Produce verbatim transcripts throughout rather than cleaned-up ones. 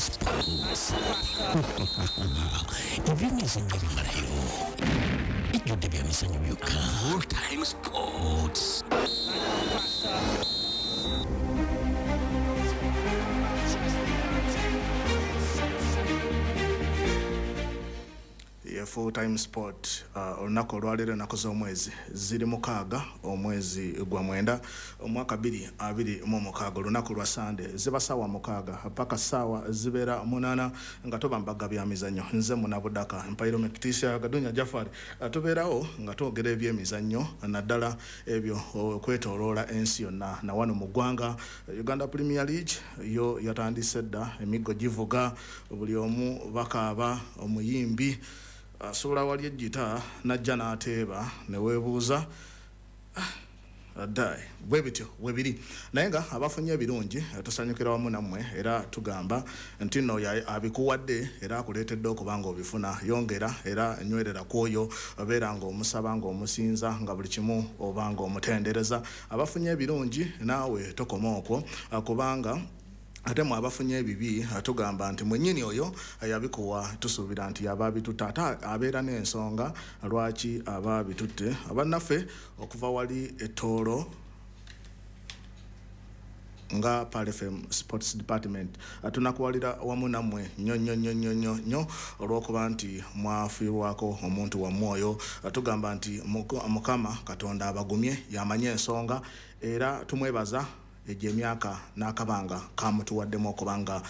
Sports. Ebyemizannyo bimalayo, ejjudde byamizannyo byokka. Full Time Sports. Full Time Sport, uh, olunaku olwaleero ennaku z'omwezi ziri mukaaga, omwezi gwa mwenda, omwaka bbiri abiri mu mukaaga, olunaku lwa Sande, ziba ssaawa mukaaga paka ssaawa zibeera munaana nga toba mbaga bya mizannyo. Nze Munabudaka Mpairo Mekitisia Gadunya Jafari, uh, tubeerawo nga twogera ebyemizannyo, naddala ebyo okwetooloola ensi yonna na wano mu ggwanga. Uganda Premier League yo yatandise dda, emiggo givuga, buli omu bakaaba, omuyimbi asobola wali ejjita najja n'ateeba ne weebuuza ddayi. Bwe bityo bwe biri, naye nga abafunye ebirungi tusanyukira wamu nammwe, era tugamba nti nno abikuwadde era akuleetedde okuba nga obifuna. Yongera era nywerera ku oyo, obeera ng'omusaba, ng'omusinza, nga buli kimu oba ng'omutendereza. Abafunye ebirungi naawe tokoma okwo, kubanga ate mwe abafunye ebibi tugamba nti mwennyini oyo yabikuwa, tusuubira nti yaba abitutte, ate abeera n'ensonga lwaki aba abitutte. Abannaffe okuva wali ettoolo nga Pearl F M Sports Department tunakuwalira wamu nammwe nnyo nnyo nnyo nnyo nnyo nnyo olw'okuba nti mwafiirwako omuntu wammwe oyo. Tugamba nti Mukama Katonda abagumye, yamanye ensonga, era tumwebaza egyo emyaka n'akabanga kamutuwaddemu okubanga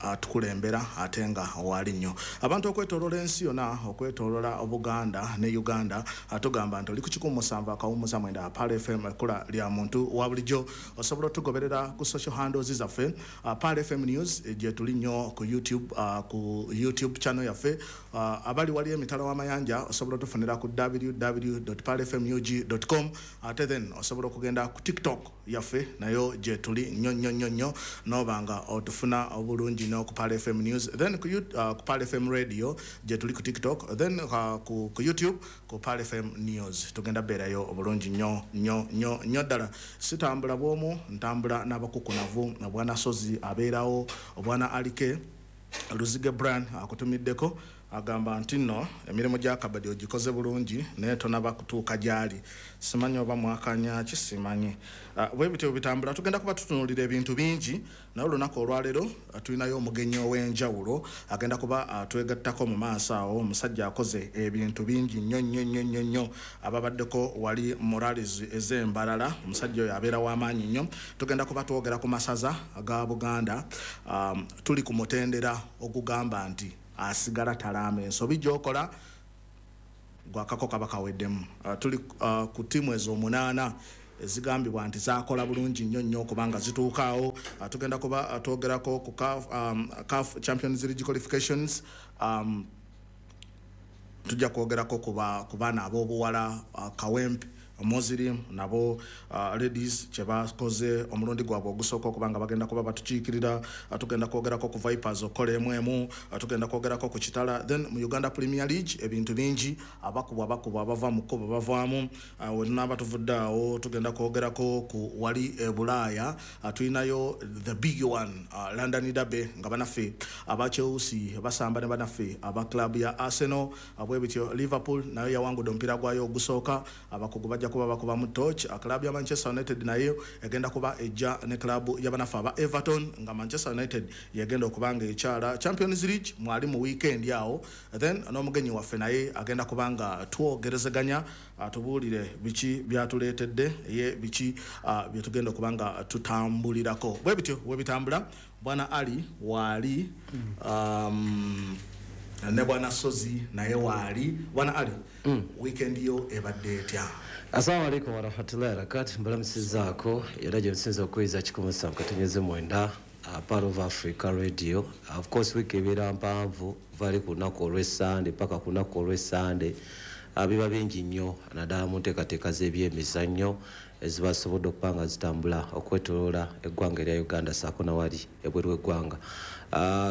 atukulembera ate nga waali nnyo. Abantu okwetooloola ensi yonna, okwetooloola Obuganda ne Uganda, tugamba nti oli ku kikumi musanvu akawummuza mwenda Pearl F M, ekkula lya muntu wa bulijjo. Osobola otugoberera ku social handles zaffe, Pearl F M News gye tuli nnyo ku YouTube, ku YouTube channel yaffe. Abali wali emitala w'amayanja osobola otufunira ku w w w dot pearl f m u g dot com, ate then osobola okugenda ku TikTok yaffe nayo gye tuli nnyo nnyo nnyo nnyo, n'oba nga otufuna obulungi nnyo ku Pearl F M News, then ku, uh, ku Pearl F M Radio gye tuli ku TikTok, then uh, ku, ku YouTube ku Pearl F M News. Tugenda beerayo obulungi nnyo nnyo nnyo nnyo ddala. Sitambula bw'omu, ntambula n'abakukunavu, Bwana Sozi abeerawo, Obwana Alike Luzige Brian akutumiddeko, agamba nti nno emirimu gya kabadi ogikoze bulungi naye tonaba kutuuka gy'ali. Simanyi oba mwakanya ki, simanyi. Bwe bityo bitambula, tugenda kuba tutunuulira ebintu bingi, naye olunaku olwaleero tulinayo omugenyi ow'enjawulo agenda kuba atwegattako mu maaso awo. Omusajja akoze ebintu bingi nnyo nnyo nnyo nnyo nnyo, ababaddeko wali morals ez'embalala, omusajja oyo abeera w'amaanyi nnyo. Tugenda kuba twogera ku masaza ga Buganda, um, tuli ku mutendera ogugamba nti asigala talaama ensobi gy'okola gwakako kaba kaweddemu. Uh, tuli uh, ku ttiimu ez'omunaana ezigambibwa nti zaakola bulungi nnyo nnyo kubanga zituukaawo. Uh, tugenda kuba uh, twogerako ku CAF, um, CAF Champions League qualifications, um, tujja kwogerako ku baana ab'obuwala, uh, Kawempe Muslim nabo uh, ladies kye bakoze omulundi gwabwe ogusooka okubanga bagenda kuba batukiikirira. uh, tugenda kwogerako ku Vipers okukola emu emu, uh, tugenda kwogerako ku Kitala, then mu Uganda Premier League ebintu bingi, abakubwa abakubwa abava mu kkubo bavaamu. uh, we tunaaba tuvudde awo tugenda kwogerako ku wali e Bulaaya, uh, tulinayo the big one, uh, London Derby, nga banaffe aba Chelsea basamba ne banaffe aba club ya Arsenal. uh, bwe bityo Liverpool nayo yawangudde omupiira gwayo ogusooka, abakugu bajja kuba bakuba mu torch. Club ya Manchester United nayo egenda kuba ejja ne club ya banaffe aba Everton, nga Manchester United yegenda okubanga ekyala Champions League mwali mu weekend awo. Then n'omugenyi waffe naye agenda kubanga twogerezeganya, atubuulire biki byatuleetedde, ye biki uh, byetugenda okubanga tutambulirako. Bwe bityo bwe bitambula. Bwana Ali waali, um, ne Bwana Sozi naye waali. Bwana Ali, mm. weekend yo ebadde etya? Assalamu alaikum warahmatullahi wabarakatuh. Mbalamusizaako era gye nsinza okuyinza kikumi musanvu katonnyeze mwenda, Part of Africa Radio. Of course wiiki ebeera mpanvu, vali ku lunaku olw'Essande paka ku lunaku olw'Essande. Biba bingi nnyo naddala mu nteekateeka z'ebyemizannyo ezibasobodde okuba nga zitambula okwetooloola eggwanga erya Uganda ssaako nawali ebweru w'eggwanga.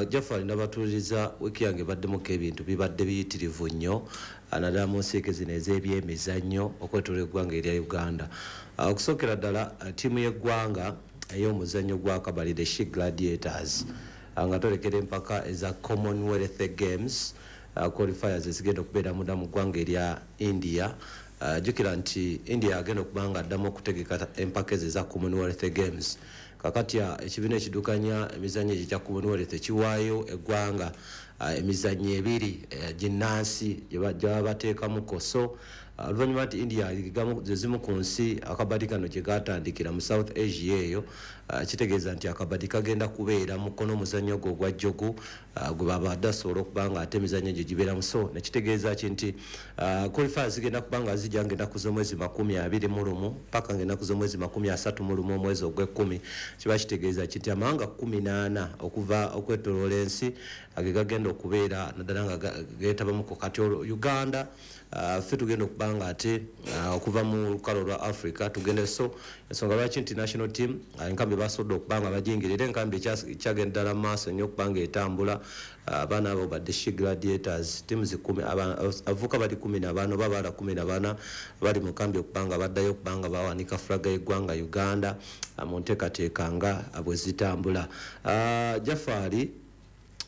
Jafari nabatuuliriza wiiki yange ebaddemuko ebintu bibadde biyitirivu nnyo naddala mu nsiike zino ez'ebyemizannyo okwetooloola eggwanga erya Uganda. Okusookera ddala ttiimu y'eggwanga ey'omuzannyo gwa kabali, the She Gladiators, nga twolekera empaka eza Commonwealth Games uh, qualifiers ezigenda okubeera munda mu ggwanga erya India. Uh, jjukira nti India agenda okuba nga addamu okutegeka empaka ezo eza Commonwealth Games. Kakati ekibiina ekiddukanya emizannyo egyo egya Commonwealth ekiwaayo eggwanga uh, emizannyo ebiri uh, ginnansi gye baba bateekamuko. So oluvannyuma nti India ze zimu ku nsi akabadi kano gye gatandikira mu South Asia eyo, uh, kitegeeza nti akabadi kagenda kubeera mukono omuzannyo gwo ogwa jjogu uh, gwe babadde asobola okuba nga ate emizannyo gye gibeeramu. So nekitegeeza ki nti uh, qualifiers zigenda kuba nga zijja ng'ennaku z'omwezi makumi abiri mu lumu paka ng'ennaku z'omwezi makumi asatu mu lumu omwezi ogw'ekkumi. Kiba kitegeeza ki nti amawanga kkumi n'ana okuva okwetooloola ensi ge gagenda okubeera naddala nga geetabamuko. Kati olwo Uganda Uh, ffe tugenda okuba nga ate uh, okuva mu lukalo lwa Africa tugende. So ensonga lwaki nti national team uh, enkambi basobodde okuba nga bajingira, era enkambi ekyagenda ddala mu maaso nnyo okuba nga etambula. Abaana abo badde She Gladiators teams kumi, abavubuka bali kumi na bana oba abaala kumi na bana bali mu nkambi okuba nga baddayo okuba nga bawanika fulaga y'eggwanga Uganda mu nteekateeka nga bwe zitambula. uh, Jafari,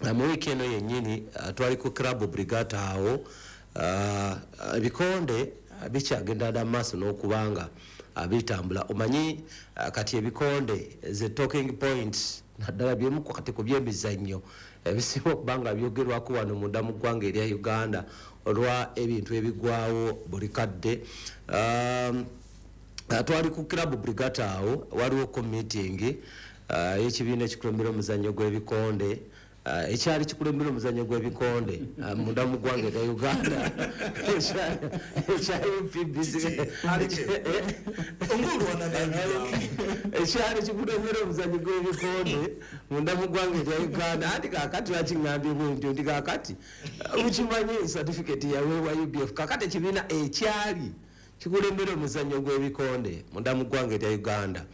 uh, mu wiiki eno yennyini uh, twali ku Club Brigata awo. Uh, ebikonde bikyagenda dda maaso n'okubanga uh, bitambula. Omanyi uh, kati ebikonde ze talking points naddala byemu kati ku byemizannyo ebisinga okuba nga byogerwako wano munda mu ggwanga erya Uganda olwa ebintu ebigwawo buli kadde. um, twali ku Club Brigata awo, waliwo ko meeting y'ekibiina uh, ekikulembera omuzannyo gw'ebikonde Uh, ekyali kikulembera omuzannyo gw'ebikonde uh, munda mu ggwanga erya Uganda ekya U P B C ekyali kikulembera omuzannyo gw'ebikonde munda mu ggwanga erya Uganda. Anti kaakati lwaki ŋŋambye bwe ntyo nti kaakati mukimanyi certificate yaweebwa U B F. Kaakati ekibiina ekyali kikulembera omuzannyo gw'ebikonde munda mu ggwanga erya Uganda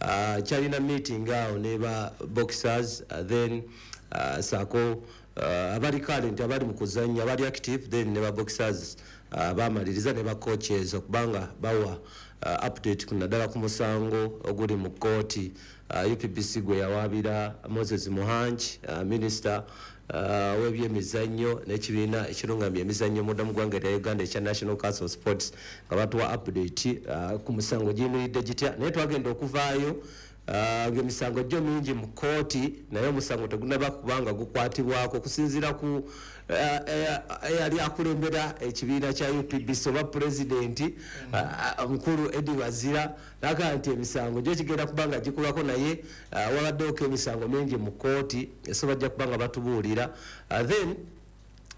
uh, kyalina meeting awo ne ba boxers, uh, then Uh, sako uh, abali current abali mu kuzannya abali active, then ne ba boxers uh, bamaliriza ne ba coaches okubanga bawa uh, update naddala ku musango oguli mu kkooti uh, U P B C gwe yawaabira Moses Muhangi, uh, minister uh, w'ebyemizannyo n'ekibiina ekirungamya emizannyo munda mu ggwanga erya Uganda ekya National Council of Sports, nga batuwa update uh, ku musango giyimiridde gitya. Naye twagenda okuvaayo Uh, emisango gyo mingi mu kkooti, naye omusango tegunaba kubanga gukwatibwako okusinziira ku eyali uh, uh, akulembera ekibiina kya U P B C oba pulezidenti omukulu uh, Eddie Wazira, n'agamba nti emisango gyo kigenda kubanga gikulwako, naye uh, wabaddewoko emisango mingi mu kkooti, so bajja kubanga batubuulira. Uh, then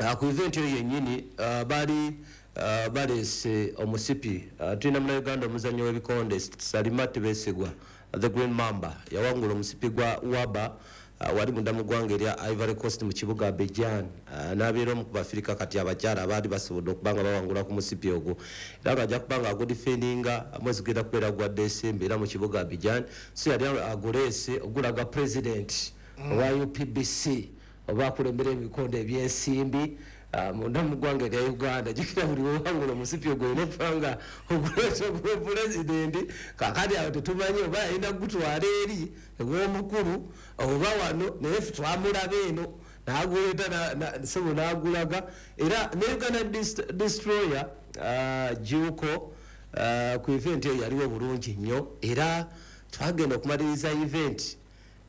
uh, ku event eyo yennyini uh, bali uh, baleese omusipi. uh, tulina munnayuganda omuzannyo w'ebikonde Salima Tebesigwa, The Green Mamba, yawangula omusipi gwa Waba uh, wali munda mu ggwanga erya Ivory Coast mu kibuga Abidjan, uh, n'abeera omu ku Bafirika kati abakyala abaali basobodde okuba nga bawangula ku musipi ogwo, era ng'ajja kuba nga agudifendinga mwezi gugenda kubeera gwa Desemba era mu kibuga Abidjan. So yali aguleese ogulaga president owa mm. U P B C oba akulembera ebikonde ebyensimbi uh, munda mu ggwanga erya Uganda. Jjukira buli wewangula omusipi ogwo olina okuba nga oguleeta pulezidenti. Kaakati awo tetumanyi oba yalina kugutwala eri ew'omukulu oba wano, naye ffe twamulaba eno n'aguleeta sebo n'agulaga. Era ne Uganda Destroyer uh, Juuko uh, ku event eyo yaliwo bulungi nnyo, era twagenda okumaliriza event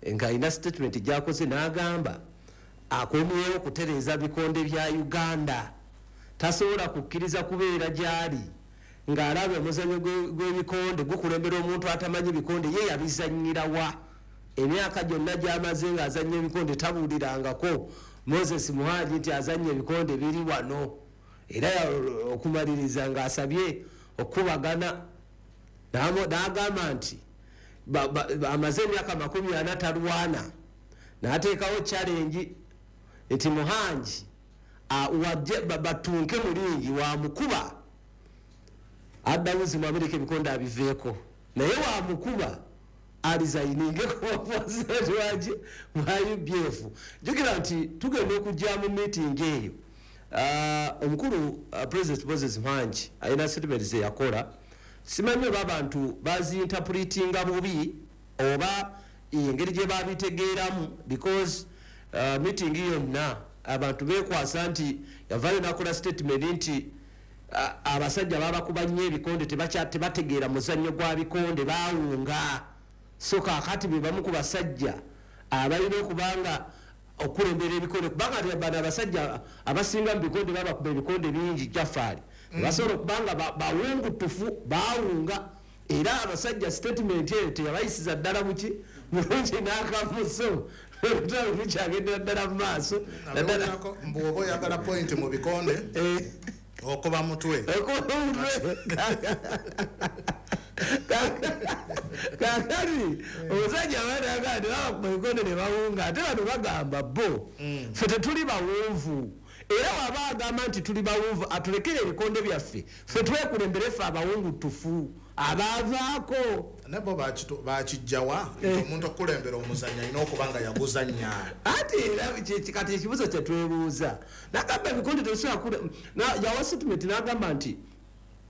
ng'alina statement gy'akoze n'agamba akomyewo okutereeza bikonde bya Uganda, tasobola kukkiriza kubeera gy'ali ng'alaba omuzannyo gw'ebikonde gukulembera omuntu atamanyi bikonde, ye yabizannyira wa emyaka gyonna gy'amaze ng'azannya ebikonde tabuulirangako Moses Muhangi nti azannya ebikonde biri wano. Era okumaliriza ng'asabye okubagana n'agamba nti amaze emyaka makumi ana talwana, n'ateekawo challenge nti Muhangi batunke mulingi wamukuba addamuzi mu Amerika ebikonde abiveeko, naye wamukuba alizayininge kubapresident wa U B F. Jjukira nti tugenda okujja mu meeting eyo, uh, omukulu uh, President Moses Muhangi alina statement ze yakola, simanyi oba abantu bazinterpretinga bubi oba engeri gye babitegeeramu, because uh, meeting yonna abantu bekwasa nti yavayo nakola statement nti uh, abasajja babakuba nnyo ebikonde, tebategeera muzannyo gwa bikonde, bawunga. So kaakati be bamu ku basajja abalina okubanga okulembera ebikonde, kubanga bano abasajja abasinga mu bikonde babakuba ebikonde bingi Jafari, mm. basobola okubanga bawungutufu, bawunga. Era abasajja statement eyo teyabayisiza ddala buki mulungi n'akamuso olutalo lukyagendera ddala mu maaso. Mbu oba oyagala point mu bikonde okuba mutwe, okuba mutwe. Kakati omusajja abaana babakuba ebikonde ne bawunga, ate bano bagamba bo ffe tetuli bawunvu. Era waba agamba nti tuli bawunvu, atulekere ebikonde byaffe ffe twekulembere ffe abawungutufu abaavaako. Nabo bakijjawa nti omuntu okulembera omuzannyo alina okuba nga yaguzannya. Ate era kati ekibuuzo kye twebuuza, nagamba ebikonde tebisobola, yawa statement n'agamba nti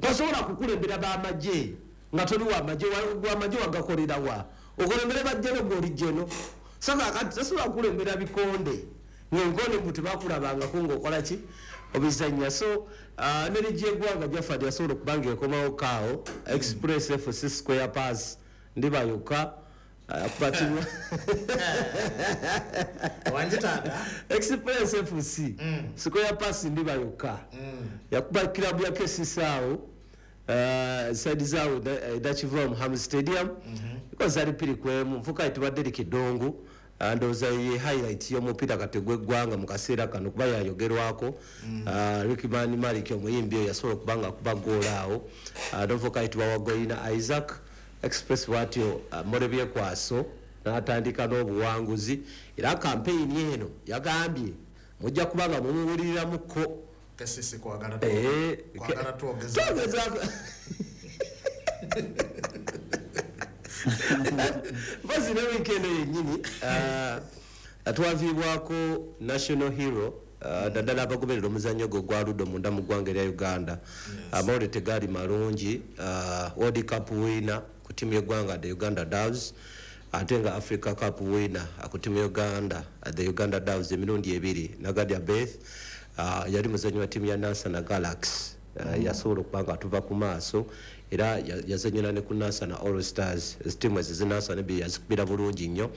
tosobola kukulembera b'amagye nga toli wamagye, wamagye wagakolera wa okulembera bajjeno gw'oli jjeno. So kakati tosobola kukulembera bikonde ng'ebikonde mbu tebakulabangako ng'okola ki obizannya. So uh, ne ligi y'eggwanga Jafari yasobola okuba nga ekomawo kaawo Express F C Square Pass ndiba yokka kuba timu Express F C Square Pass ndiba yokka yakuba kilabu ya K C C awo uh, side zaawo edakiva mu Ham Stadium ikoze ali piri kwemu nfuka etubadde likidongo. Ndowooza ye highlight y'omupiira kati gw'eggwanga mu kaseera kano kuba yayogerwako. Rickman Malik omuyimbi oyo yasobola okuba nga akuba ggoolo awo. Novoka ayitibwa Wagoyina Isaac. Express bw'atyo Morebyekwaso n'atandika n'obuwanguzi. Era kampeyini eno yagambye mujja kuba nga mumuwuliriramukko. K C C kwagala twogeza mpozi ne weekend yennyini twaviibwako national hero, naddala abagoberera omuzannyo gwo gwa ludo munda mu ggwanga erya Uganda. Amawulire tegaali malungi. World Cup winner ku ttiimu y'eggwanga the Uganda Doves, ate nga Africa Cup winner ku ttiimu y'Uganda the Uganda Doves emirundi ebiri, Nagadia Beth, yali muzannyi wa ttiimu ya Nansana Galaxy, yasobola okuba nga atuva ku maaso. Era yazannyira ne ku Nansana All Stars, ttiimu ezo zinansana ebbiri yazikubira bulungi nnyo.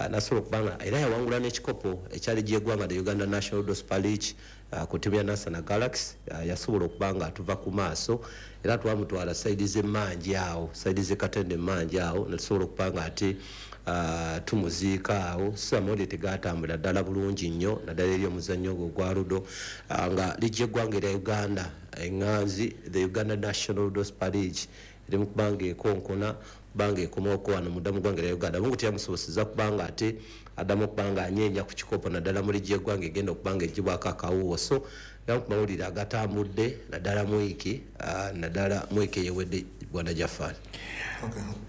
Nasobola okuba nga era yawangula n'ekikopo ekyali gy'eggwanga the Uganda National Ludo Super League ku ttiimu ya Nansana Galaxy. Yasobola okuba nga atuva ku maaso era twamutwala sayidi z'emmanji awo, sayidi z'e Katende emmanji awo, netusobola okuba nga ate tumuziika awo. So amawulire tegatambula ddala bulungi nnyo naddala eri omuzannyo ogwo gwa ludo, nga liigi y'eggwanga erya Uganda eŋŋanzi the Uganda National Ludo Super League eri mu kubanga ekonkona, kubanga ekomaoko wano munda mu ggwanga erya Uganda. Mungu teyamusobosezza kubanga ate addamu okuba nga anyeenya ku kikopo naddala mu liigi y'eggwanga egenda okuba nga eggyibwako akawuwo. So gamu ku mawulire agatambudde naddala mu wiiki, naddala mu wiiki eyewedde, Bwana Jafari.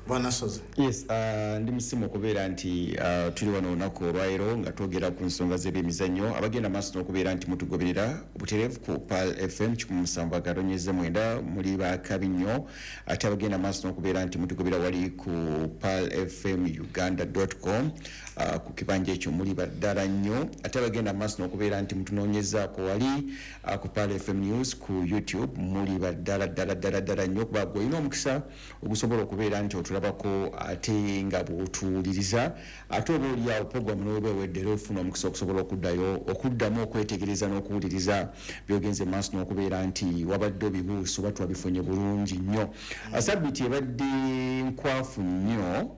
Bwana Sozi. Yes, uh, ndi musimu okubeera nti uh, tuli wano olunaku olwaleero nga twogera ku nsonga z'ebyemizannyo. Abagenda maaso n'okubeera nti mutugoberera butereevu ku Pearl F M kikumi musanvu agatonyeze mwenda, muli bakabi nnyo. Ate abagenda maaso n'okubeera nti mutugoberera wali ku pearl f m uganda dot com, uh, ku kibanja ekyo muli baddala nnyo. Ate abagenda maaso n'okubeera nti mutunoonyezaako wali uh, ku Pearl F M News ku YouTube, muli baddala ddala ddala ddala nnyo, kuba gwe olina omukisa ogusobola okubeera nti otulabako ate nga bw'otuwuliriza. Ate oba oli awo programu n'oba ewedde era ofuna omukisa okusobola okuddayo okuddamu okwetegereza n'okuwuliriza by'ogenze maaso n'okubeera nti wabadde obibuusa oba twabifunye bulungi nnyo. Sabbiiti ebadde nkwafu nnyo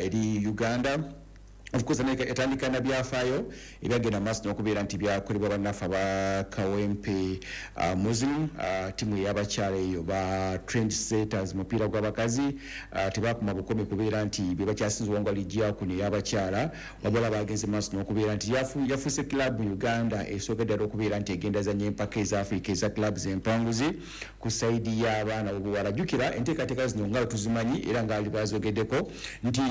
eri Uganda. Of course, etandika na byafaayo ebyagenda maaso n'okubeera nti byakolebwa bannaffe aba Kawempe uh, Muslim, uh, ttiimu ey'abakyala eyo ba trend setters mupiira gw'abakazi, uh, tebakuma bukomi kubeera nti be bakyasinze owangula liigi ya kuno ey'abakyala, wabula bagenze maaso n'okubeera nti yafuuse club mu Uganda esooka ddala okubeera nti egenda zannya empaka eza Africa eza clubs empanguzi ku sayidi y'abaana obuwala. Jjukira enteekateeka zino nga tuzimanyi era nga bazogeddeko nti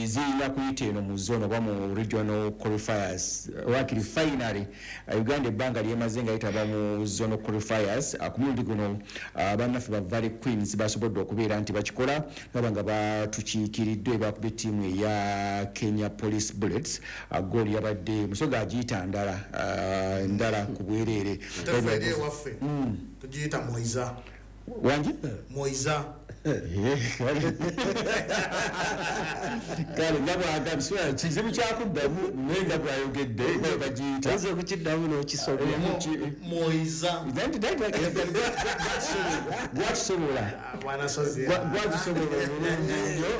zirina kuyita eno mu zone oba mu regional qualifiers wakiri finally uh, Uganda ebbanga lyemaze nga yetaba mu zonal qualifiers. uh, ku mulundi guno uh, bannaffe ba Valley Queens basobodde okubeera nti bakikola baba nga batukiikiriddwe bakubye ttiimu eya Kenya Police Bullets. uh, goal yabadde Musoga agiyita ndala uh, ndala ku bwereere. Ate ffe eri ewaffe tugiyita moiza. Wangi Moiza. Kale nga bwagambye kizibu kyakuddamu naye nga bwayogedde nga bagiyita oyinza okukiddamu n'okisobya Moiza. Gwakisobola Bwana Sozi. gwakisobola obulungi nnyo.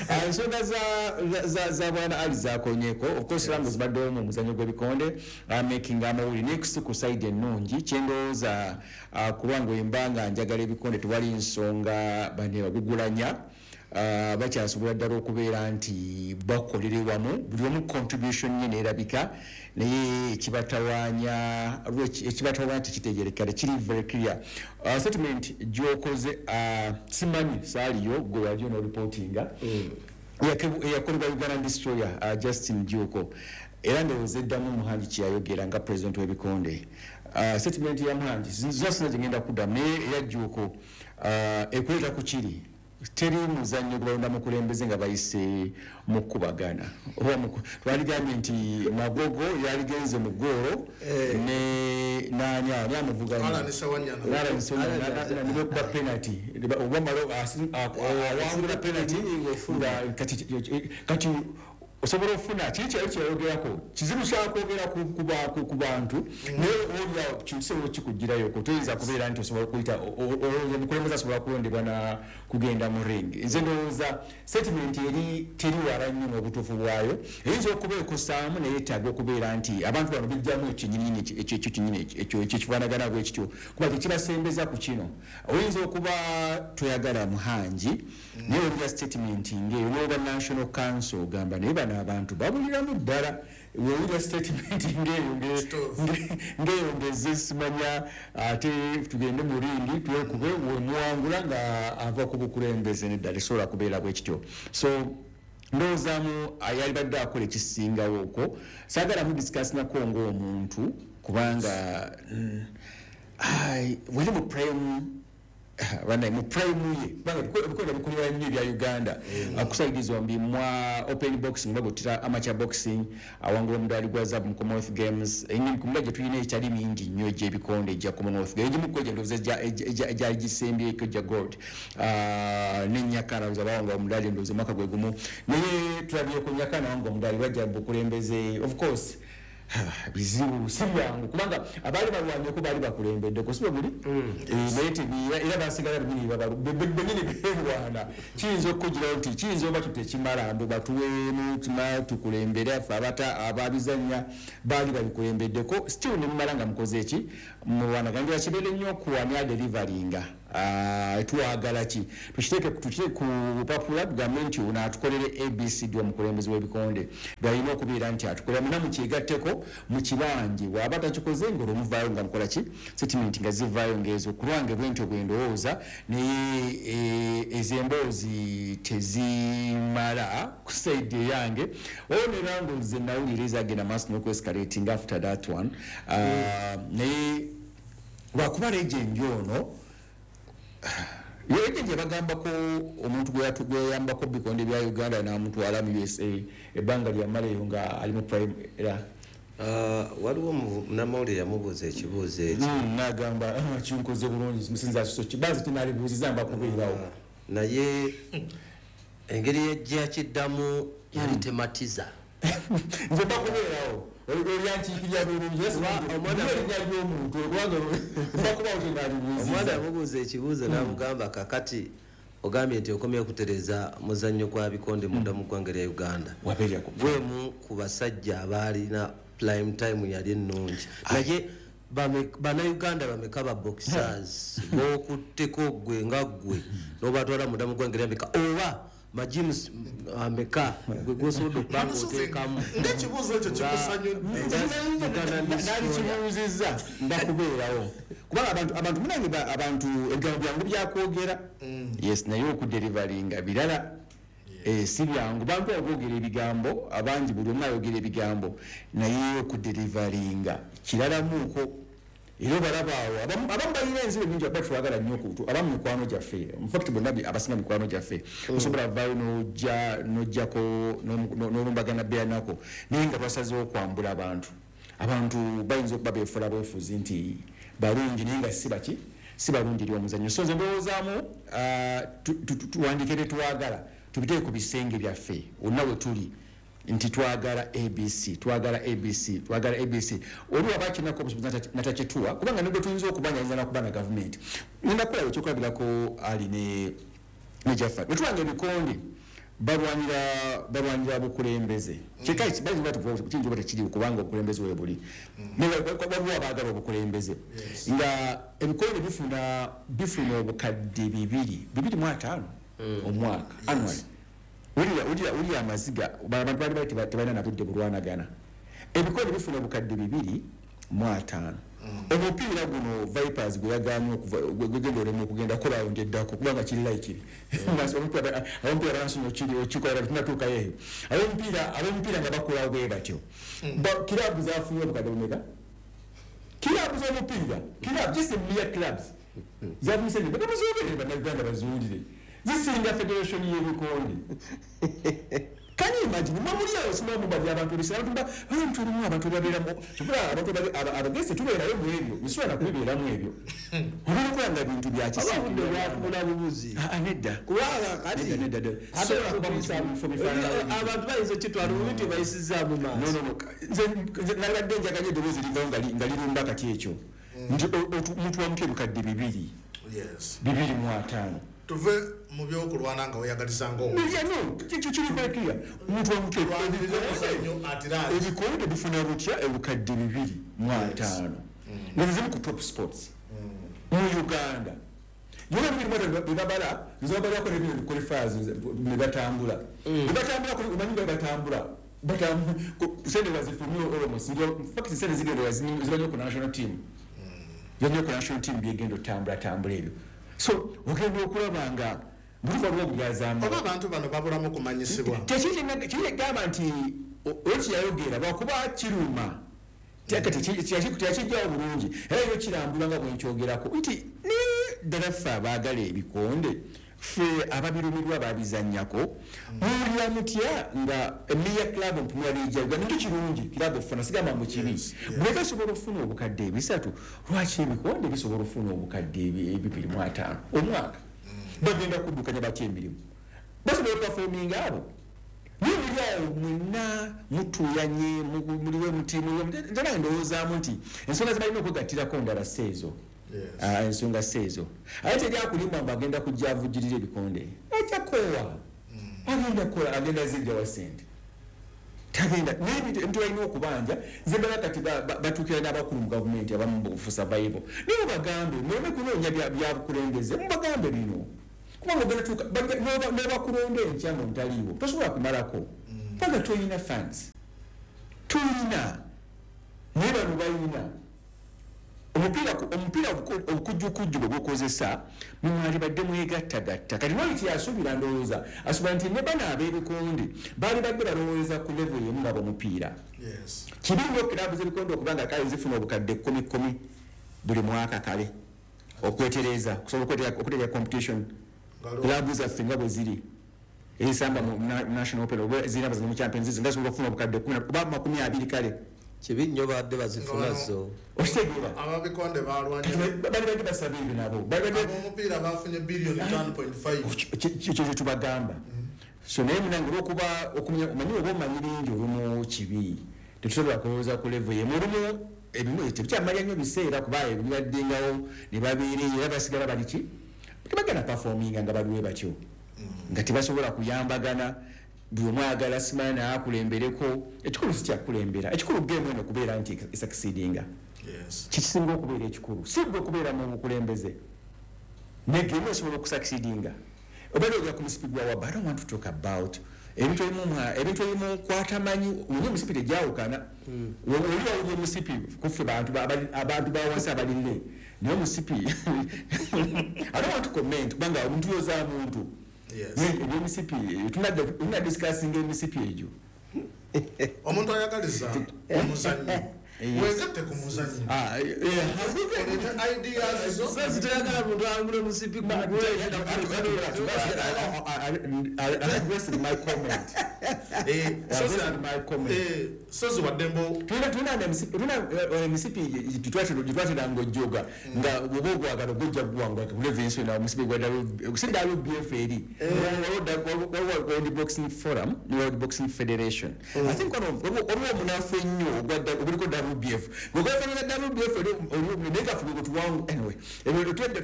Eh, ensonga za- za- za bwana Ali zakonyeko. Of course Ramos zibaddewo mu muzannyo gw'ebikonde making amawulire naye si ku side ennungi kyendowooza, ah, kubanga wemba nga njagala ebikonde tewali nsonga bane bagugulanya. Ah, bakyasobola ddala okubeera nti bakolere wamu buli omu contribution ye neerabika, naye ekibatawaanya ekibatawaanya tekitegerekeka, tekiri very clear. Uh, statement gy'okoze, uh, simanyi saaliyo gwe wali onoreportinga eyakolebwa Uganda Destroyer uh, Justin Juko, era ndowooza eddamu Muhangi kyeyayogera nga president w'ebikonde. Uh, statement ya Muhangi zosina gyengenda kuddamu, naye eya Juko uh, ekuleeta ku kiri teri muzannyo gwe balonda mukulembeze nga bayise mu kkubagana. Oba mu- twaligambye nti Magogo yaligenze mu ggoolo ne nani ani amuvuganya Alan Ssewanyana. Alan Ssewanyana nibekuba penalty oba malo awangula penalty nga kati kati osobola okufuna kiri kyali kyeyogerako kizibu kyakwogera ku- ku ba- ku- ku bantu, naye olyawo kisobola okikugirayo toyinza kubeera nti osobola okuyita omukulembeze asobola kulondebwa na kugenda mu ring. Nze ndowooza statement eri teri wala nnyo n'obutuufu bwayo, eyinza okuba ekosaamu naye etaaga okubeera nti abantu bano bijjamu ekinyinyi ekyo ekyo kinyini ekyo ekyo kifaanagana bwe kityo kuba tekibasembeza ku kino. Oyinza okuba toyagala Muhangi naye olira statement ng'eyo n'oba National Council ogamba naye bano abantu babuliramu ddala. Wewulira statement ng'eyo nge- nge- ng'eyo ngeze simanya ate tugende mu ringi twekube wemuwangula nga ava ku bukulembeze neddala esobola kubeera bwe kityo. So ndowoozaamu yalibadde akola ekisingawo okwo saagala mudiscussingako ng'omuntu kubanga mm, ai, wali mu prime banaye mu prime ye kubanga ebikonde bikolera nnyo ebya Uganda ku side zombi mwa open boxing bagutira amateur boxing awangula omudaali gwa zaabu mu Commonwealth Games. Ku mula gye tulina ekyali mingi nnyo egy'ebikonde egya Commonwealth Games, egimu ku egyo ndowooza egya- egya- egya- egyali gisembyeko egya gold. Ah, ne Nyakana ndowooza bawangula omudaali ndowooza omwaka gwe gumu, naye tulabye ku Nyakana awangula omudaali bajja mu bukulembeze. Of course bizibu si byangu kubanga abaali balwanyeko baali bakulembeddeko si bwe buli. Eh, naye tebi- era basigala benyini babalu- be- be- benyini beerwana. Kiyinza okukugirawo nti kiyinza oba kyo tekimala mbu batuweemu kima tukulembere affe abata ababizannya baali babikulembeddeko still ne mumala nga mukoze eki mulwanagana. Kibeere nnyo okuwanya deliveringa. Ah, twagala ki tukiteeke tukiteeke ku bupapula tugambe nti ono atukolere A B C D omukulembeze w'ebikonde byalina okubeera nti atukolera muna mukyegatteko mu kibanje bw'aba takikoze nga olwomuvaayo nga mukola ki statement nga zivaayo ng'ezo kulwange bwentyo bwe ndowooza. Naye eh, ezo emboozi tezimala ku side eyange oyo ne nze nawulira ezagenda maaso n'okwescalating after that one. Ah, naye lwakuba legend ono legend yabagambako omuntu gwe yatu- gwe yayambako bikonde bya Uganda n'amutwala mu U S A ebbanga lyamala eyo nga ali mu prime era. Ah, waliwo munnamawulire yamubuuza ekibuuzo ekyo. Mm, n'agamba "Ah, kinkoze bulungi musinza so kibazi tinalibuuziza mba kubeerawo." Naye engeri gyakiddamu yali tematiza. Nze mba kubeerawo olyankiikirya bulungi erinnya ly'omuntu kubanga mba kubaawo Omwana tenalibuuziza. yamubuuza ekibuuzo n'amugamba, kakati ogambye nti okomye okutereza muzannyo gwa bikonde munda mu ggwanga lya Uganda, Wabeerera ku gwemu ku basajja abaalina prime time yali ennungi, naye bame- bannayuganda bameka ba boxers bokutteko gwe nga ggwe n'obatwala munda mu ggwanga lya Amerika oba majims ameka gwe gwosobodde okuba nga oteekamu? Ng'ekibuuzo ekyo kikusanyudde. Nalikibuuzizza mbakubeerawo kubanga abantu abantu munange ba- abantu ebigambo byangu byakwogera, yes, naye okuderivaringa birala. Eh, si byangu, bantu aboogera ebigambo abangi, buli omu ayogera ebigambo, naye okudeliveringa kiralamuuko. Era obalaba awo abamu abamu balina enzibu nyingi, aba twagala nnyo okutu abamu mikwano gyaffe, in fact bonna bi- abasinga mikwano gyaffe, osobola vaayo n'ojja n'ojjako n'olumbagana beyanako, naye nga twasazeewo okwambula abantu. Abantu bayinza okuba beefuula bwefuzi nti balungi, naye nga si baki, si balungi eri omuzannyo. So nze ndowoozaamu ah, tu- tu- tu- tuwandiike bye twagala, tubiteeke ku bisenge byaffe wonna we tuli nti twagala A B C, twagala A B C, twagala A B C. Oli waba akinako obusobozi natakituwa, kubanga nibwe tuyinza okubanja ayinza nakuba na gavumenti. Ngenda kulaba ekyokulabirako ali ne ne Jaffa, bwetubanga ebikonde balwanira balwanira bukulembeze, kiyinza oba tekiriwo, kubanga obukulembeze we buli. Naye waliwo abaagala obukulembeze nga ebikonde bifuna bifuna obukadde bibiri bibiri mu ataano omwaka, annually. Wulira, wulira, wulira amaziga. Ba- abantu bali bali teba- tebalina na budde bulwanagana. Ebikonde bifuna obukadde bibiri mu ataano. Omupiira guno Vipers gwe yaganye okuva gwe gwegenda olema okugenda kolawo njeddako, kubanga kiri laikiri abamupiira bansonya kiri okikola tunatuukayo eyo. Abamupiira abamupiira nga bakolawo bwe batyo. Ba- kiraabu zafunye obukadde bumeka? Kiraabu z'omupiira, kiraabu, just mere clubs, zafunye sente baka muzogerere Bannayuganda baziwulire, zisinga federation y'ebikonde. Can you imagine? Mwe muli awo simanyi mubali abantu ebisera, abantu ba abantu ebimu, abantu babeeramu kyokka abantu ababe- aba- abagezi tubeerayo mu ebyo, nsobola nakubibeeramu ebyo, ogenda okulaba nga bintu bya Aba budde bwakubula bubuzi. Ah, ah, nedda. Kubanga kati Nedda, nedda, nedda. ate Sobola kuba mu kifo bifaanana ebyo. Abantu bayinza okitwala obubi nti bayisizaamu No, maaso. no, no. Nze nze nalibadde njaganya eddoboozi livayo nga li- nga lirumba kati ekyo nti o- otu- muntu wa mutwe ebukadde bibiri Yes. bibiri mu ataano. Tuve mu byokulwana nga weyagaliza nga Yeah, no, kikyo kiri very clear. Omuntu wa mutwe Lwaniriza omuzannyo at large. Ebikonde bifuna butya ebukadde bibiri mu ataano nga zimu ku top sports mu Uganda? Yona bibiri mu ataano bebabala, nze babalako nebino qualifiers ne batambula ne batambula kuli- omanyi nga batambula Batambu- ku- sente bazifulumye almost. In fact sente zigenda ziba nnyo ku national team, ziba nnyo ku national team, byegenda otambula tambula ebyo. So ogenda okulaba nga buli waliwo obulyazaama. Oba abantu bano babulamu kumanyisibwa. Tekigamba nti olwo yayogera lwakuba kiruma, teyakijjawo bulungi, era yo kirambula nga bwenkyogerako nti naye ddala ffe abaagala ebikonde, ffe ababirumirwa babizannyako, muwulira mutya nga emiya club mpumula lijja? Nikyo kirungi club okufuna, sigamba mu kibi. Bwe gasobola okufuna obukadde ebisatu, lwaki ebikonde bisobola okufuna obukadde ebi- ebibiri mu ataano omwaka? Bagenda kuddukanya batya emirimu? Basobola okuperforminga abo? Naye muli awo mwenna mutuuyanye, mu- muliwe muti muliwe muti. Nze nange ndowoozaamu nti ensonga ze balina okwegattirako ndala si ezo. Yes. Ah, ensonga si ezo, ate teri akulimba mbu agenda kujja avujjirira ebikonde, ajja koowa, agenda kukola, agenda zijjawa sente? Tagenda. N'ebintu ebintu balina okubanja. Nze mbala kati ba- ba- batuukira n'abakulu mu gavumenti abamu mu survival, naye mubagambe muleme kunoonya bya- bya bukulembeze, mubagambe bino, kubanga ogenda tuuka bajja- n'oba- n'obakulonda enkya nga ontaliiwo, tosobola kumalako kubanga toyina funds, toyina. Naye bano balina omupiira ku- omupiira obuku- obukujjukujju bwe bukozesa, mumwali badde mwegattagatta. Kati wali kyeyasuubira, ndowooza asuubira nti ne bano ab'ebikonde baali badde balowooza ku level emu nga bomupiira. Yes. Kibi nnyo kiraabu z'ebikonde okuba nga kale zifuna obukadde kumi kumi buli mwaka, kale okwetereza, okusobola okwetereza- okutereeza competition. Ngalo. Kiraabu zaffe nga bwe ziri ezisamba mu na- national open oba zirina bazina mu Champions, nga zisobola okufuna obukadde kumi na- oba makumi abiri, kale. Kibi nnyo, badde bazifuna Ngalo. zo. Okitegeera? Ababikonde balwanye. Bali badde basaba ebyo nabo bali badde Ab'omupiira bafunye biliyoni ttaano point five. Ekyo kyetubagamba. So naye munange, olwokuba okumanya, omanyi oba omanyi bingi, olumu kibi, tetusobola kulowooza ku level yemu. Olumu ebimu tebikyamalya nnyo biseera, kuba ebibaddengawo ne babeera eyo, era basigala bali ki, tebagenda performinga nga baliwe batyo, nga tebasobola kuyambagana, buli omu ayagala simanyi naye akulembereko. Ekikulu si kyakukulembera, ekikulu game eno kubeera nti esucceedinga. Yes. Kikisinga okubeera ekikulu si gwe okubeera mu bukulembeze, ne game esobola okusucceedinga. Obeera ojja ku musipi gwa waba. I don't want to talk about ebintu ebimu mwa- ebintu ebimu kwatamanyi onye omusipi tegyawukana. Oli wawulya omusipi kuffe bantu ba- abali- abantu bawansi abalire, naye omusipi, I don't want to comment, kubanga omuntu yoza muntu. Ebye M C P tunadde discussing M C P egyo. Omuntu ayagaliza omuzannyo, wegatte ku muzannyo, ideas zo. Sasa toyagala muntu angule musipi. I requested my comment. Eh, I requested my comment. Eh, sozi waddembo. Tulina tulina emisipi gitwatira ng'ojjoga nga bwoba ogwagala gojja guwangula kulevensi na omusipi gwa W B F eri waliwo World Boxing Forum ne World Boxing Federation. I think one of waliwo omunafu ennyo oguliko W B F gwefaanana W B F eri naye nga ffe gwetuwangu. Anyway, ebyo tunadde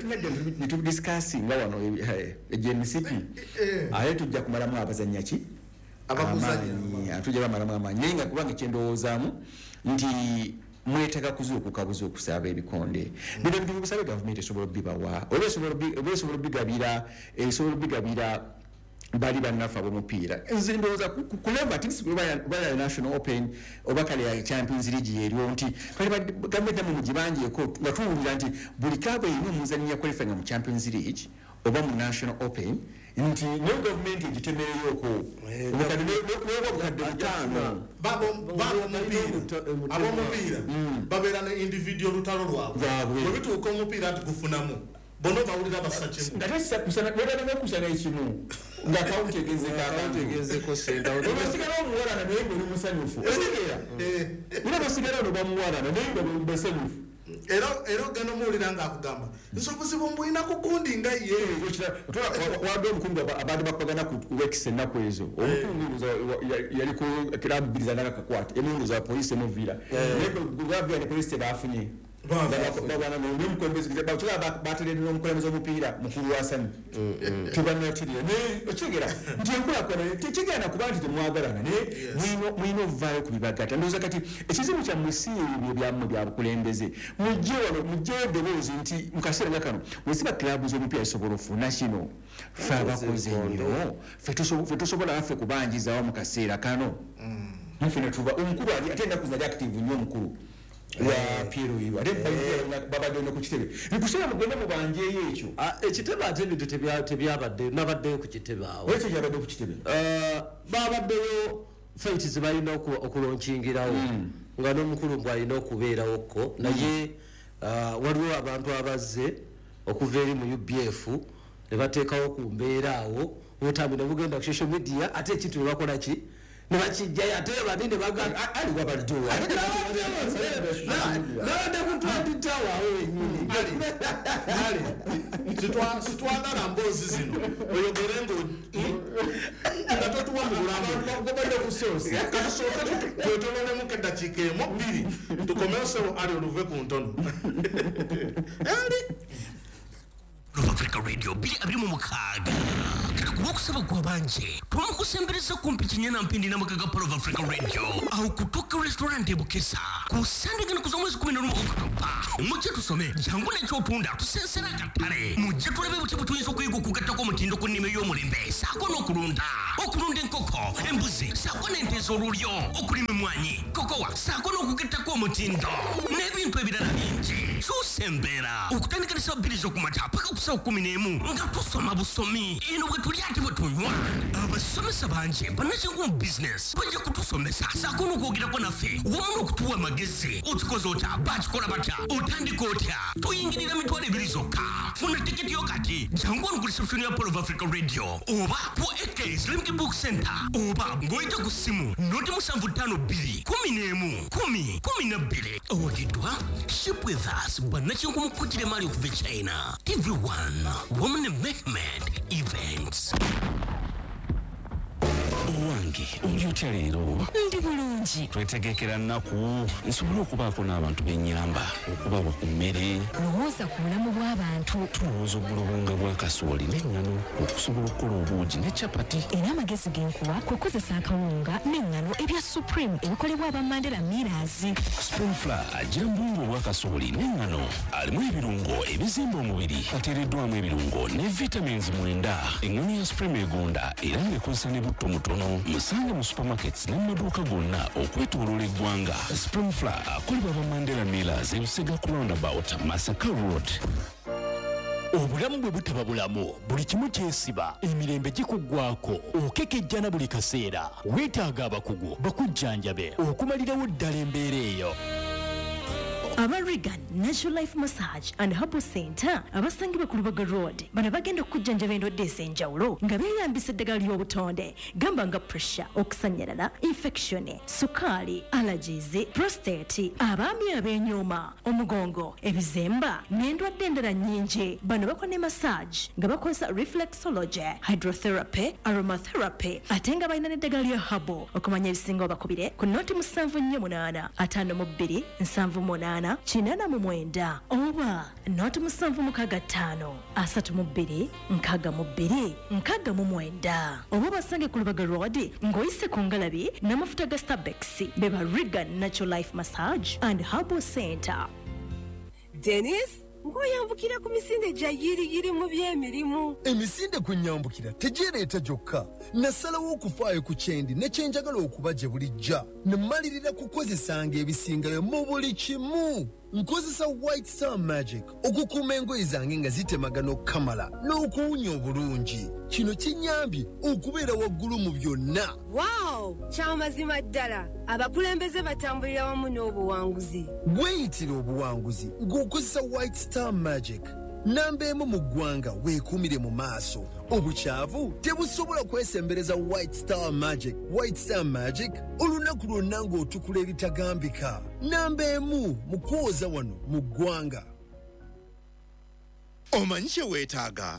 netudiscussinga wano egyo emisipi, ate tujja kumalamu abazannya ki abakuzanya. Tujja bamalamu amaanyi, naye nga kubanga kyendowoozaamu nti mwetaaga kuzuukuka buzuukusa ebikonde bino ebintu bibusabe. Gavumenti esobola obibawa oba esobola obigabira, esobola obigabira bali bannaffe ab'omupiira. Nze ndowooza ku level at least oba ya National Open oba kale ya Champions League eriwo nti gavumenti namwe mugibanjeeko nga tuwulira nti buli club erina omuzannyi yaqualifyinga mu Champions League oba mu National Open, nti naye gavumenti egitemereyoko obukadde noba obukadde butaano. Ab'omupiira babeera ne individual lutalo lwabwe. Bwe bituuka omupiira nti gufunamu, bonna bawulira bassa kimu. Nga tekusana ekimu nga kawunti egezeko sente. Obasigala omuwalana naye nga oli musanyufu, otegeera? Era basigala ono bamuwalana naye nga basanyufu. Era era ogenda omuwulira ng'akugamba nti obuzibu mbulina ku gundi nga ye. Wadde omukungu abadde bakubagana ku weeks ennaku ezo, omukungu yali ku club bbiri zanakakwata, emu za poliisi emuvira, naye gavira ne poliisi tebafunye bateredde n'omukulembeze omupiira mukulu wasani tebanatirira. Naye okitegeera nti enkulaakulana tekigenda kuba nti temwagalana, naye mulina ovaayo ku bibagatta. Ndowooza kati ekizibu kyammwe si ebyo byammwe bya bukulembeze. Mujje wano, mujjeyo eddoboozi nti mu kaseera nga kano weziba club z'omupiira zisobola ofuna kino, ffe abakoze ennyo ffe tosobola naffe kubanjizawo mu kaseera kano naffe netuba omukulu ali ate ennaku zali active nnyo omukulu wa P L U, ate babadde ne ku kitebe nkuseera mugende mubanjeeyo ekyo. Ekitebe ate ebintu tebyabadde, nabaddeyo ku kitebe awo. Ekyo kyabadde ku kitebe. Babaddeyo fight zebalina okulauncingirawo nga n'omukulu mbw alina okubeerawokko, naye waliwo abantu abazze okuva eri mu U B F ne bateekawo ku mbeera awo obutambi ne bugenda ku social media, ate ekintu ne bakola ki ne bakijjayo, ate bani ne Ali wabaddewo. Nabadde ku Twenty Tower awo wenyini. Sitwagala mboozi zino oyogere nga totuwa mu bulamu. Gobadde ku source. Katusooke twetololemuko eddakiika emu bbiri tukomewo. Sebo ali oluve ku ntono ali. Africa Radio bbiri abiri mu mukaaga kati okusaba gwabanje twamukusembereza kumpi kinyana mpindi namakaga Pearl of Africa Radio awo kutoka restaurant ebukesa ku Sande gano kuza mwezi kumi na lumu Okutoba. Mujje tusome, jangu n'ekyotunda tusensera akatale, mujje tulabe buti bwe tuyinza okuyiga okugattako omutindo ku nnima ey'omulembe saako n'okulunda okulunda enkoko, embuzi saako n'ente ez'olulyo, okulima emmwanyi, kokowa saako n'okugattako omutindo n'ebintu ebirala bingi. Kyusa embeera okutandika ne ssaawa bbiri z'okumakya paka ku ssaawa kumi n'emu nga tusoma busomi eno bwe tulya ate bwe tunywa. Abasomesa bangi bannakinku mu bizinesi bajja kutusomesa saako n'okwogerako naffe wamu n'okutuwa amagezi. Okikoze otya? Bakikola batya? Otandika otya? Tuyingirira mitwalo ebiri zokka. Funa tiketi yo kati, jangu wano ku reception ya Pearl of Africa Radio oba ku A K Islamic Book Center oba ng'oyita ku ssimu noti musanvu ttaano bbiri kumi n'emu kumi kumi na bbiri. Owagiddwa Ship With Us, bannakinku mu kukutira emaali okuva e China, T V one wamu ne Mehmed Events. Owange, oli otya leero? Ndi bulungi. Twetegekera nnaku nsobole okubaako n'abantu b'ennyamba okubawa ku mmere. Lowooza ku bulamu bw'abantu. Tulowooza obulobunga bwa kasooli n'eŋŋano okusobola okukola obuugi ne capati. Era amagezi genkuwa kukozesa akawunga n'eŋŋano ebya Supreme ebikolebwa aba Mandela Millers. Supreme Flour agira mu buwunga obwa kasooli n'eŋŋano, alimu ebirungo ebizimba omubiri, ateereddwamu ebirungo ne vitamins mwenda. Eŋŋano ya Supreme egonda era ng'ekozesa ne butto mutono. Musange mu supermarkets ne mu maduuka gonna okwetooloola eggwanga. Supreme Flour akolebwa aba Mandela Millers, ebusega ku roundabout, Masaka Road. Obulamu bwe butaba bulamu, buli kimu kyesiba, emirembe gikuggwako, okekejjana buli kaseera. Weetaaga abakugu bakujjanjabe okumalirawo ddala embeera eyo. Aba Regan Natural Life Massage and Herbal Center abasangibwa ku Lubaga Road bano bagenda okujjanjaba endwadde ez'enjawulo nga beeyambisa eddagala ly'obutonde, gamba nga pressure, okusannyalala, infection, sukaali, allergies, prostate, abaami ab'enyooma, omugongo, ebizemba n'endwadde endala nnyingi. Bano bakola ne massage nga bakozesa reflexology, hydrotherapy, aromatherapy, ate nga balina n'eddagala lya herbal. Okumanya ebisingawo bakubire ku noti musanvu nnyo munaana ataano mu bbiri nsanvu munaana kinaana mu mwenda oba noti musanvu mukaaga ttaano asatu mu bbiri nkaaga mu bbiri nkaaga mu mwenda, oba basange ku Lubaga Road ng'oyise ku ngalabi n'amafuta ga Starbex. Be ba Regan Natural Life Massage and Herbal Center. Denis, ng'oyambukira ku misinde gya yiriyiri mu by'emirimu. Emisinde kwe nyambukira tegyereeta gyokka. Nasalawo okufaayo ku kyendi ne kyenjagala okuba gye bulijja, ne mmalirira kukozesanga ebisingayo mu buli kimu. Nkozesa White Star Magic okukuuma engoye zange nga zitemagana okukamala n'okuwunya obulungi. Kino kinnyambye okubeera waggulu mu byonna. Waawo, kyamazima ddala, abakulembeze batambulira wamu n'obuwanguzi. Weeyitira obuwanguzi ng'okozesa White Star Magic. Namba emu mu ggwanga, weekuumire mu maaso. Obukyavu tebusobola kwesembereza White Star Magic. White Star Magic, olunaku lwonna ng'otukula ebitagambika. Namba emu mu kwoza wano mu ggwanga. Omanyi kye weetaaga?